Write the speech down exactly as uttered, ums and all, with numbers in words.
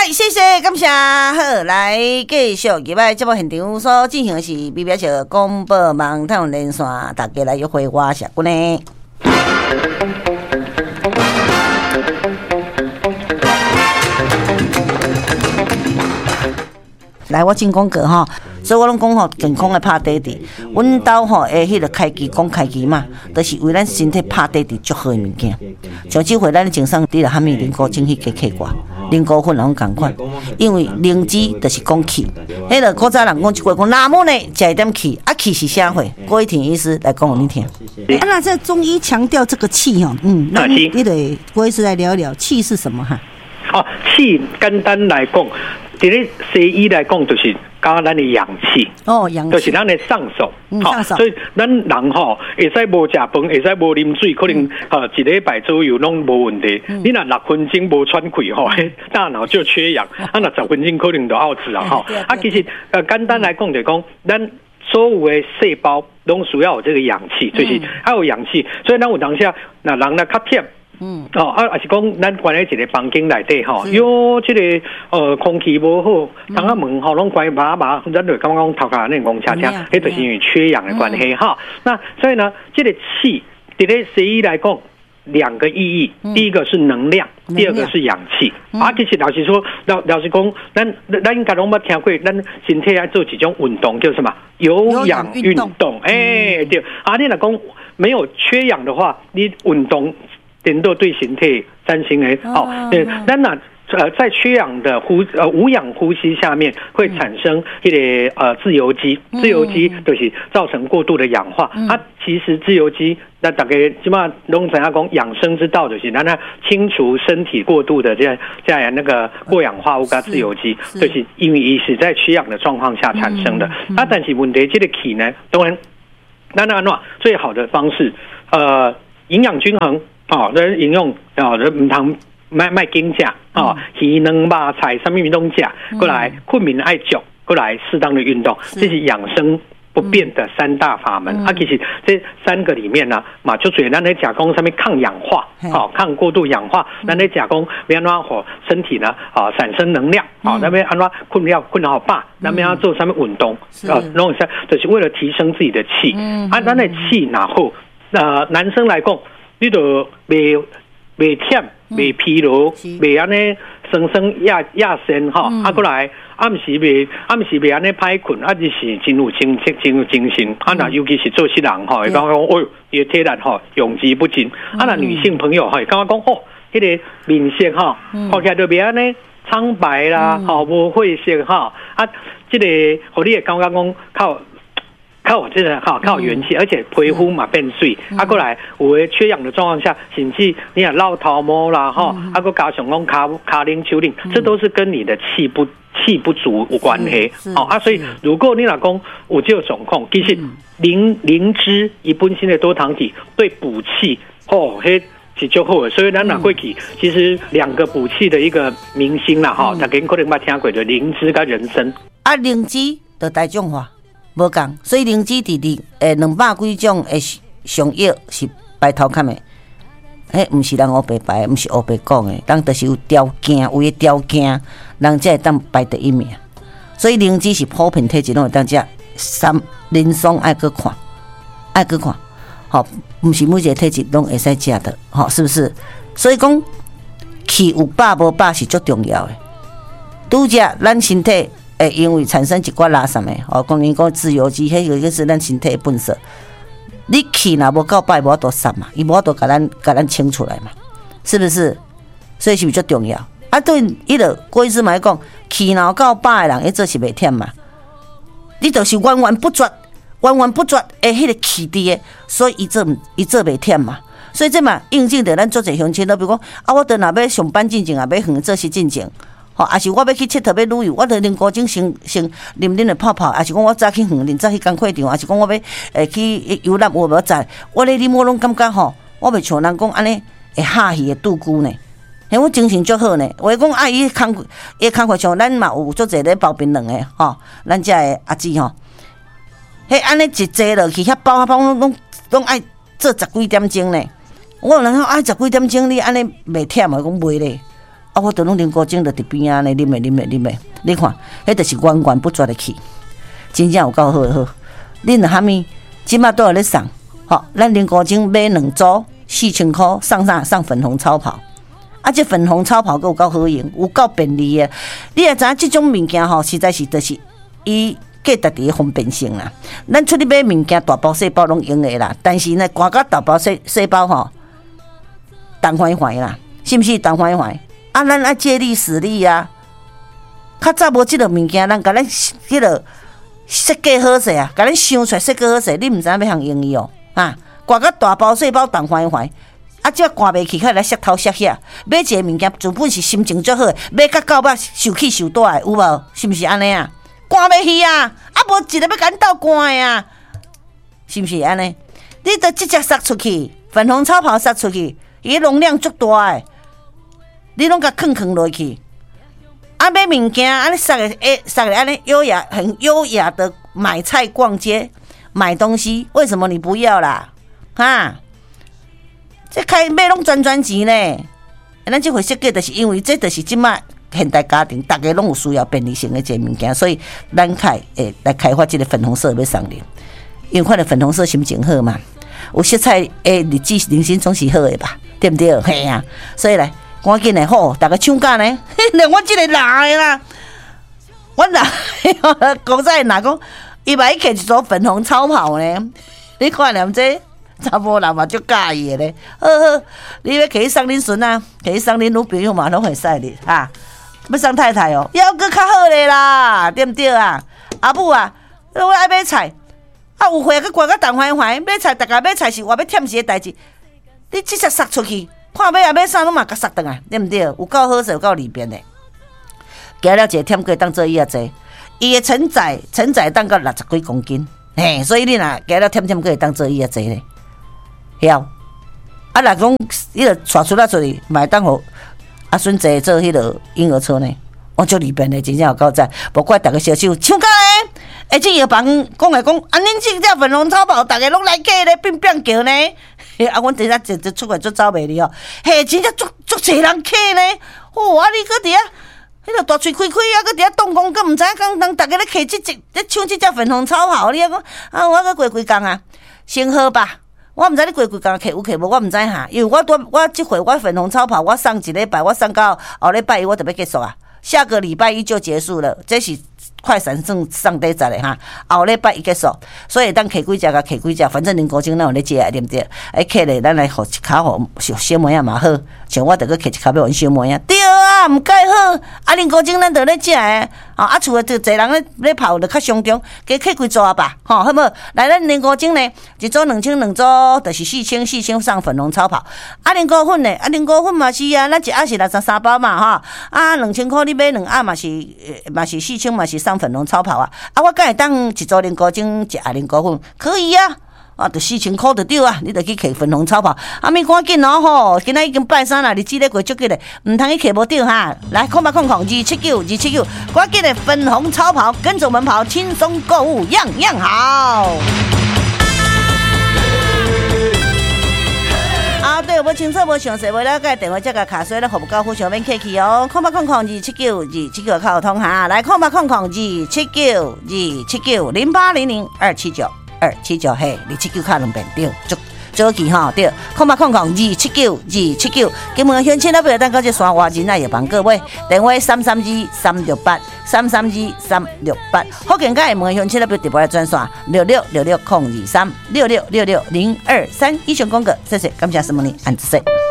來，謝謝，感謝，好，來繼續入來節目現場所進行的是 B B S 廣播網台灣連線，大家來約會，我是阿君。來，我進廣告吼，所以我攏講吼，健康的拍底佇，阮兜吼的彼个開機講開機嘛，就是為咱身體拍底佇足好的物件。像這回咱前送你著啥物靈菇精去加客掛，靈菇粉攏仝款，因為靈芝就是講氣。彼个古早人講一句講，哪麼呢？食一點氣，啊氣是啥貨？郭一婷醫師來講予你聽。啊，那這中醫強調這個氣吼，嗯，那你得郭醫師來聊一聊氣是什麼哈？哦，氣簡單來講，佇咧西醫來講，就是加咱的氧氣，哦，氧氣就是咱的上手，上手。所以咱人吼會使無食飯，會使無啉水，可能吼一禮拜左右攏無問題。你若六分鐘無喘氣吼，大腦就缺氧，啊，若十分鐘可能就嘔死啊吼。啊，其實呃簡單來講就講，咱所有的細胞攏需要有這個氧氣，就是愛有氧氣。所以咱有當時若人若較忝。嗯，哦，啊，也是講咱關佇一个房間內底吼，喲，這个呃空氣無好，窗仔門吼攏關密密，咱就感覺講頭殼按呢戇車車，彼就是因為缺氧的關係哈。那所以呢，這个氣佇咧西醫來講，兩個意義，第一個是能量，第二個是氧氣。啊，其實老實說，老老實講，咱咱應該攏捌聽過，咱身體愛做一種運動叫什麼？有氧運動。欸，對。啊，你若講沒有缺氧的話，你運動顛倒對身體產生的哦，對，咱若呃在缺氧的呼呃無氧呼吸下面，會產生彼个呃自由基，自由基就是造成過度的氧化。啊，其實自由基，那大家這馬攏知影講養生之道就是咱清除身體過度的這樣這樣那個過氧化物佮自由基，就是因為伊是在缺氧的狀況下產生的。啊，但是問題這个氣呢，當然，那那那最好的方式，呃，營養均衡。哦，咱營養哦，毋通莫莫緊食哦，魚卵肉菜啥物物攏食，過來睏眠愛足，過來適當的運動，這是養生不變的三大法門。啊，其實這三個裡面呢，嘛就主咱咧食講啥物抗氧化，哦，抗過度氧化，咱咧食講欲按怎予身體呢，啊，產生能量，哦，咱欲按怎睏了睏好飽，咱欲按怎做啥物運動，啊，攏會使，就是為了提升自己的氣。啊，咱的氣若好，那男生來講，你就袂袂忝，袂疲勞，袂按呢酸酸壓壓身吼，啊，閣來暗時袂暗時袂按呢歹睏，啊，就是真有精真有精神。啊，若尤其是做事人吼，會感覺講，哎喲，伊的體力吼用之不盡。啊，若女性朋友吼，會感覺講，哦，彼个面色吼，看起來就袂按呢蒼白啦，吼，無血色吼，啊，這个予你會感覺講較。較有這个哈，較有元氣，而且皮膚嘛變媠。啊，閣來有的缺氧的狀況下，甚至你若落頭毛啦，吼，啊，閣加上講跤跤冷手冷，這都是跟你的氣不氣不足有關係。哦啊，所以如果你若講有這個狀況，其實靈靈芝伊本身的多糖體對補氣，吼，彼是足好的。所以咱若過去，其實兩個補氣的一個明星啦，吼，大家可能捌聽過，就靈芝佮人參。啊，靈芝就大眾化。無仝，所以靈芝佇佇誒兩百幾種的上藥是排頭坎的，彼毋是人烏白排，毋是烏白講的，人就是有條件，有的條件，人才會當排第一名。所以靈芝是普遍體質攏會當食，三臨床愛閣看，愛閣看，吼，毋是每一個體質攏會使食的，吼，是不是？所以講氣有飽無飽是足重要的。拄則咱身體會因為產生一寡垃圾的，哦，講你講自由基，彼個就是咱身體的垃圾。你氣若無夠飽，無法度散嘛，伊無法度共咱共咱清出來嘛，是不是？所以是毋是足重要？啊，對，彼个郭醫師嘛咧講，氣若有夠飽的人，伊做是袂忝嘛。你就是源源不絕、源源不絕的彼个氣佇的，所以伊做伊做袂忝嘛。所以這嘛印證著咱足濟鄉親，都比如講，啊，我都若欲上班進前，也欲遠做事進前。吼，抑是我欲去𨑨迌欲旅遊，我著啉菇精先先啉啉的泡泡，抑是講我早去園林早去工課場，抑是講我欲會去遊覽有無在，我咧啉我攏感覺吼，我袂像人講按呢會哈去的拄久呢，嘿，我精神足好呢。有的講啊，伊工伊工課像咱嘛有足濟咧包檳榔的吼，咱遮的阿姊吼，彼按呢一坐落去，遐包啊包攏攏攏愛做十幾點鐘呢。我有人講啊，十幾點鐘你按呢袂忝啊？講袂咧。啊，我就攏啉糊精，就佇邊仔呢，啉的啉的啉的，你看，彼就是源源不絕的氣，真正有夠好的好。恁若蝦米，這馬都有咧送，吼，咱啉糊精買兩組四千箍送啥？送粉紅超跑。啊，這粉紅超跑閣有夠好用，有夠便利的。你也知影這種物件吼，實在是就是伊價值佇方便性啦。咱出去買物件，大包細包攏用的啦。但是呢，掛甲大包細細包吼，重煩煩啦，是毋是？重煩煩。啊，咱愛借力使力啊！較早無這個物件，咱共咱彼個設計好勢啊，共咱想出來設計好勢，你毋知影欲通用伊哦，啊，掛甲大包細包重煩煩，啊，這掛袂去，較來摔頭摔遐。買一个物件，原本是心情足好，買甲到尾受氣受大的，有無？是毋是按呢啊？掛袂去啊！啊，無一个欲共咱鬥掛的啊，是毋是按呢？你著直接塞出去，粉紅超跑塞出去，伊容量足大的。你攏共囥囥落去，啊買物件，按呢塞个欸，塞个按呢優雅，很優雅的買菜、逛街、買東西，為什麼你不要啦？哈？這開買攏賺賺錢呢？咱這回設計就是因為這就是這馬現代家庭，逐家攏有需要便利性的這個物件，所以咱開會來開發這個粉紅色欲送恁，因為看著粉紅色心情好嘛，有色彩的日子人生總是好的吧？對毋對？嘿啊，所以來。趕緊的好，逐家搶價呢？連我這個老的啦，我老古早若講，伊嘛去摕一組粉紅超跑呢？你看連這查某人嘛足佮意的咧。好好，你欲摕去送恁孫仔，摕去送恁女朋友嘛，攏會使哩哈。欲送太太哦，猶閣較好咧啦，對毋對啊？阿母啊，我愛買菜，啊有貨閣掛甲重煩煩，買菜逐家買菜是偌欲忝時的代誌，你直接塞出去。看欲啊買啥攏嘛共塞轉來，對毋對？有夠好勢，有夠利便的。加了一個忝過當做椅仔坐，伊的承載承載當到六十幾公斤，嘿，所以你若加了忝忝，閣會當做椅仔坐咧。曉。啊，若講彼個帶出來出去，嘛會當予阿孫坐做彼個嬰兒車呢？我足利便的，真正有夠讚。無怪逐家銷售搶價咧。欸，這藥房講來講，啊，恁這隻粉紅超跑，逐家攏來買咧，變變叫呢。啊，阮佇遮一一出來足走袂離哦，嘿，真正足足濟人客呢。吼，啊，你閣佇遐，彼個大喙開開啊，閣佇遐動工，閣毋知影講人逐家咧摕這隻咧搶這隻粉紅超跑，你還講啊？我閣過幾工啊，先好吧。我毋知你過幾工摕有摕無，我毋知哈。因為我拄我這回我粉紅超跑，我送一禮拜，我送到後禮拜一我就欲結束啊。下個禮拜一就結束了，這是快閃送送底十的哈。後禮拜一結束，所以當摕幾隻共摕幾隻，反正林國晶咱有咧食對毋對？哎，摕咧，咱來予一跤予小妹仔嘛好，像我著閣摕一跤欲予阮小妹仔。對啊，毋蓋好。啊，林國晶咱著咧食的，啊，厝的就濟人咧咧泡，就較傷重，加摕幾組吧，吼，好無？來，咱林國晶呢，一組兩千，兩組就是四千，四千送粉紅超跑。啊，林菇粉呢？啊，林菇粉嘛是啊，咱一盒是六十三包嘛，吼，啊，兩千箍你買兩盒嘛是，嘛是四千，嘛是送粉紅超跑啊。啊，我敢會當一組林菇精，一盒林菇粉，可以啊。啊，就四千箍就對啊，你就去摕粉紅超跑。啊，咪趕緊哦吼，今仔已經拜三啦，日子咧過足緊咧，毋通去摕無著哈。來，空八空空二七九二七九，趕緊的粉紅超跑，跟着我們跑，輕鬆購物，樣樣好。啊，對，無清楚、無詳細、無了解，電話才共敲，所以咱服務到府上免客氣哦。空八空空二七九二七九較好通哈，來空八空空二七九二七九零八零零二七九。二七九嘿，二七九敲兩遍對，足早期吼對，空八空空二七九二七九，金門鄉親老朋友，等到這山外人仔藥房購買，電話三三二三六八三三二三六八，福建佮廈門鄉親老朋友直播來專線六六六六空二三六六六六零二三，以上廣告，謝謝，感謝什麼呢？按子說。